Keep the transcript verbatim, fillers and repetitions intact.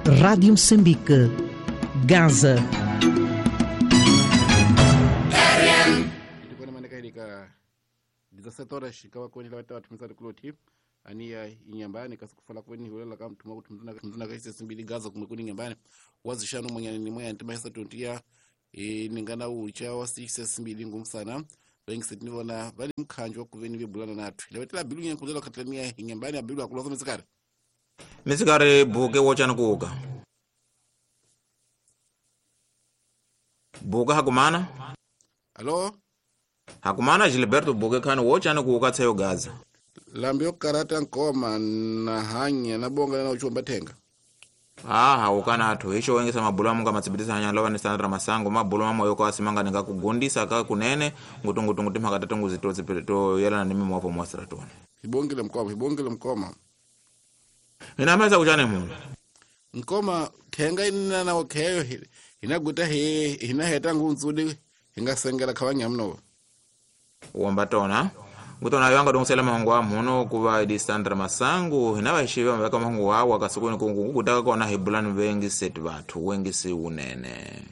Rádio Moçambique, Gaza. dezessete horas ikawa kweni la watu mzana kuloti ania inyambani kasikufala kweni hulela kama mtuma kutumzana mzana kaise simbili Gaza kumekuni nyambani wazishano mwenyani ni mwenyani timaisa tuntia e, ningana ucha wasi simbili ngumu sana wengi sitinivona bali mkhanjo kuveni vibulana nathu lawetela bilu nyankuzela katlania inyambani abilu akuloza mizikari mizikari buke wochani kuuka buka hakumana alo hakumana Gilberto buke khani wochani kuuka tseyo Gaza lambio karata nkoma na hanya na bonga na uchomba thenga aha ukana athu icho wengesa mabulu amunga matsibitisa hanya lova ni Sandra Masango mabulu mamoyo kwa asimanga ninga kugundisa ka kunene ngutungutungu timhaka tatungu zitotsi to yelana ni mimo wapo mwasira tone hibongile mkoma hibongile mkoma inameza kuchane muno nkoma thenga inina na okheyo hinaguta he hinaheta nguntsudi hingasengela khawanyamno womba tona ngutona yanga dongisela mahungu wa muno kuva idi Sandra Masango hinava hixiva maveka mahungu wawa kasukuni kungu kutaka kona hi bulani vengi seti vathu wengi si unene.